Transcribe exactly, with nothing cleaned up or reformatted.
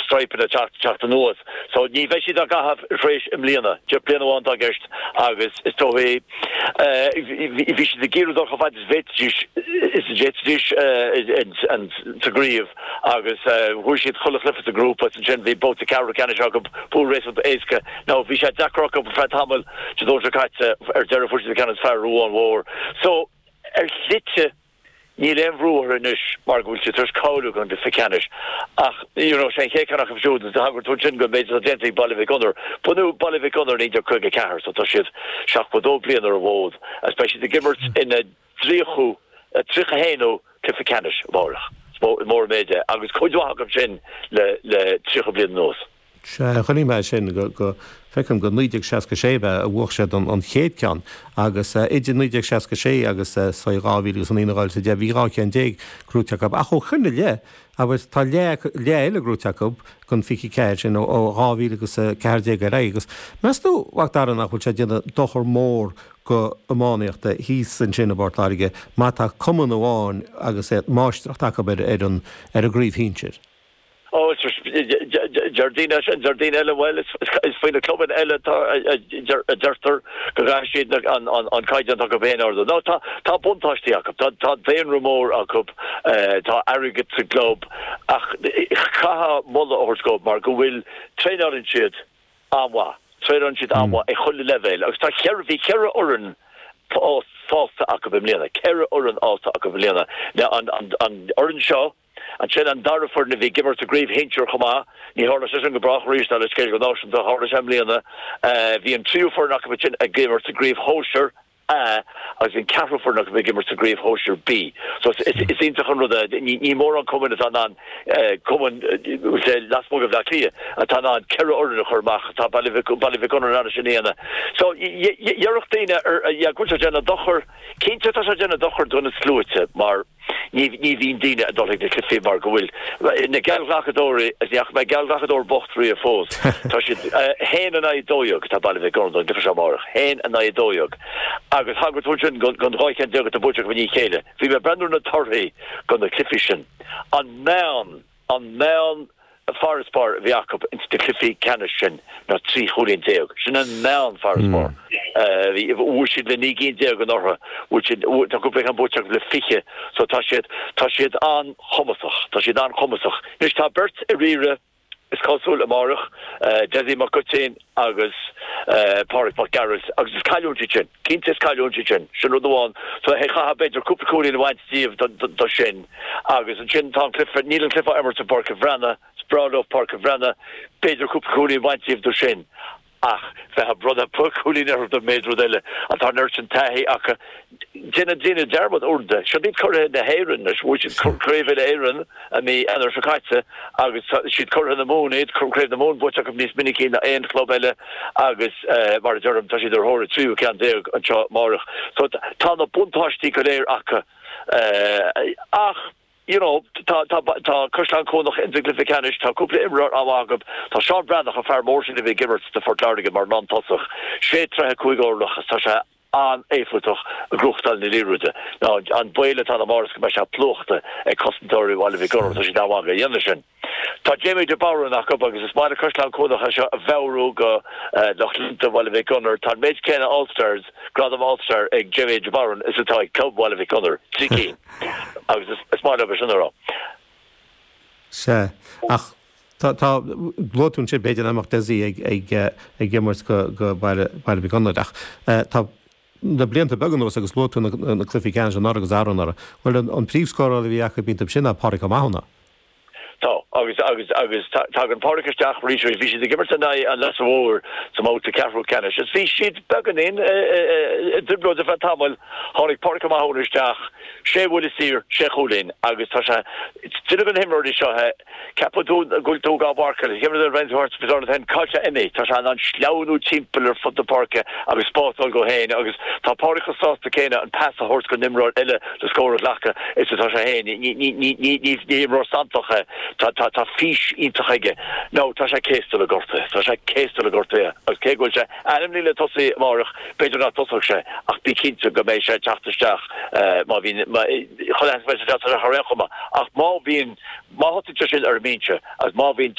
stráipeanna teacht teacht anuas. So ní bheidh siad á gcaitheamh arís i mbliana, deich bliana amháin atá i gceist agus is dóigh bhí siad ag iarraidh dul chomh fada is bhféadfaidís is a d'fhéadfaidís sa gcraobh agus bhuaigh siad chuile chluiche sa ghrúpa ansin bhí babhta ceathrú ceannais acu pool réasúnta éasca. Now bhí sé deacair acu ar feadh tamaill Dé Domhnaigh seo caite ar deireadh fuair siad an ceann is fearr Ruán Mhór. So ar shlite níl aon bhrú orthu anois mar go bhfuil siad tar éis cáiliú don gcluiche ceannais ach you know sé an chéad cheann acu siúd is thagair tú ansin don méid atá déanta ag Baile Mhic Gonair. Bunaíodh Baile Mhic Gonair naoi déag caoga ceathair so tá siad seachtó dó bliain ar an bhfód agus beidh siad ag imirt ina dtríochú tríocha haonú cluiche ceannais amárach. Is mór an méid é agus cuid mhaith acu sin le le tríocha bliain anuas. Sea, chonaic mé sin go go feicim go naoi déag seasca sé ab ea a bhuaigh siad an an chéad ceann agus idir naoi déag seasca sé agus say dhá mhíle agus a naoi nó dhá mhíle is a deich bhí dhá cheann déag gnóite acu ach ó shin i leith agus tá leath leath eile gnóite acu den fiche ceathair sin ó ó dhá mhíle agus a ceathair déag ar aghaidh agus meas tú a Mhac Dara nach bhfuil sé ag déanamh dochar mór go iománaíocht thíos ansin i bPort Láirge má tá cumann amháin agus é máistreacht acu ar ar an ar an gcraobh shinsir? Ó, deir daoine sin, deir daoine eile, bhuel, is faoi na clubanna eile atá, a deirtear go gcaithfidh siad an caighdeán atá acu féin a ardú. Nó tá, tá buntáistí acu, tá, tá daonra mór acu, tá airgead sa gclub ach caithfidh moladh a thabhairt dóibh mar go bhfuil, traenálann siad an-mhaith, traenálann siad an-mhaith ag chuile leibhéal agus tá ceithre, bhí ceithre fhoireann fásta acu i mbliana, ceithre fhoireann fhásta acu i mbliana. An, an, an fhoireann seo, Ansin an dara foireann a bhí ag imirt sa gcraobh shinsir chomh maith, ní tharla sé sin go brách arís dar le scéal go náisiúnta, tharla sé i mbliana. Bhí an tríú foireann acu ansin ag imirt sa gcraobh shóisir A agus bhí an ceathrú foireann acu ag imirt sa gcraobh shóisir B. So is iontach an rud é, ní mórán cumainn atá in ann, cumainn lasmuigh de Bhaile Átha Cliath atá in ann ceithre fhoireann a chur amach, tá Baile Mhic Gonair in ann sin a dhéanamh. So déarfadh daoine go bhfuil sé ag déanamh dochar, cinnte tá sé ag déanamh dochar do na sluaite mar, Ní bhíonn daoine ag dul chuig na cluichí mar go bhfuil na geallghlacadóirí, is ní fhaca mé geallghlacadóir bocht riamh fós, tá siad haon in aghaidh dó dhéag, tá Baile Mhic Gonair don gcluiche seo amárach, haon in aghaidh dó dhéag agus thagair tú ansin don dhá cheann déag atá buaite acu i ndiaidh a chéile. Bhí mé ag breathnú ar na torthaí do na cluichí sin. An meán, an meán farasbarr a bhí acu ins na cluichí ceannais sin ná trí chúilín déag. Sin an meán farasbarr. Bhuaigh siad le naoi gcinn déag anuraidh. Bhuaigh siad, tá cúpla ceann buaite acu le fiche. So tá siad, tá siad an-chumasach. Tá siad an-chumasach. Anois tá beirt ar iarraidh, is cosúil, amárach, Dessie Mac Goitín agus Pádraig Mac Gearailt agus is cailliúint iad sin. Cinnte is cailliúint iad sin. Sin rud amháin. So chaithfeá b'fhéidir cúpla cúilín a bhaint díobh do sin. Agus ansin tá an cluiche, níl an cluiche á imirt i bPáirc an Bhreathnaigh, is breá leo Páirc an Bhreathnaigh, b'fhéidir cúpla cúilín a bhaint díobh do sin. Ach bheith ag bronnadh cúilín orthu don méid rud eile, an tá an oiread sin taithí acu. Déanann daoine dearmad uaireanta, siod iad curaithe na hÉireann anois, bhuaigh siad Craobh Uile-Éireann i mí Eanáir seo caite agus tá siad curaithe na Mumhan iad, Craobh na Mumhan buaite acu níos minicí ná aon chlub eile agus mar a deirim, tá siad ar thóir a tríú ceann déag anseo amárach. So tá na buntáistí go léir acu ach you know tá tá tá Caisleán Cuanach ins an gcluiche ceannais, tá cúpla imreoir an-mhaith acu, tá Seán Breathnach, an fear mór sin a bhí ag imirt do Phort Láirge mar lántosach, sé troithe cúig orlach agus tá sé an-éifeachtach ag gnóthachtáil na liathróide. Now an baol atá ann amárach go mbeidh sé plúchta ag cosantóirí Bhaile Mhic Gonair, tá siad an-mhaith ag déanamh sin. Tá Jamie de Barún acu agus is maith le Caisleán Cuanach é seo a mheabhrú go lucht leanta Bhaile Mhic Gonair. Tá an méid céanna All Stars, gradam All Star ag Jamie de Barún is atá ag club Bhaile Mhic Gonair, trí cinn. Agus is maith leo é sin a rá. Sea, ach tá, tá, luaigh tú ansin b'fhéidir nach mbeadh Dessie ag, ag, ag imirt go, go Baile, Baile Mhic Gonair ach tá le blianta beaga anuas agus luaigh tú na, na cluichí ceannais anuraidh agus arú-anuraidh, bhuel an, an príomhscórálaí a bhí acu bíonn sin ná Pádraig Ó Mathúna. Tá, agus, agus, agus tagann Pádraig isteach arís, bhí siad ag imirt in aghaidh an Leasa Mhóir sa mbabhta ceathrú ceannais is bhí siad beagáinín i dtrioblóid ar feadh tamaill. Tháinig Pádraig Ó Mathúna isteach, sé bhuille saor, sé chúilín agus tá sé, duine de na himreoirí seo é, Ceapann tú go bhfuil tú á mharcáil, cá bhfuil sé imithe, tá sé in ann sleamhnú timpeall ar fud na páirce agus spás a fháil dhó féin agus tá Pádraig chomh sásta céanna an pas a thabhairt don imreoir eile le scór a ghlacadh is atá sé féin. Ní imreoir santach é, tá fís iontach aige. Now tá sé céasta le gortuithe, tá sé céasta le gortuithe agus cé go bhfuil sé ainmnithe le tosaí amárach, b'fhéidir nach dtosóidh sé ach bí cinnte go mbeidh sé ag teacht isteach má bhíonn, chuile sheans go mbeidh sé ag teacht isteach ar aon chuma ach má bhíonn, Má thosaíonn sé sin ar an mbinse agus má bhíonn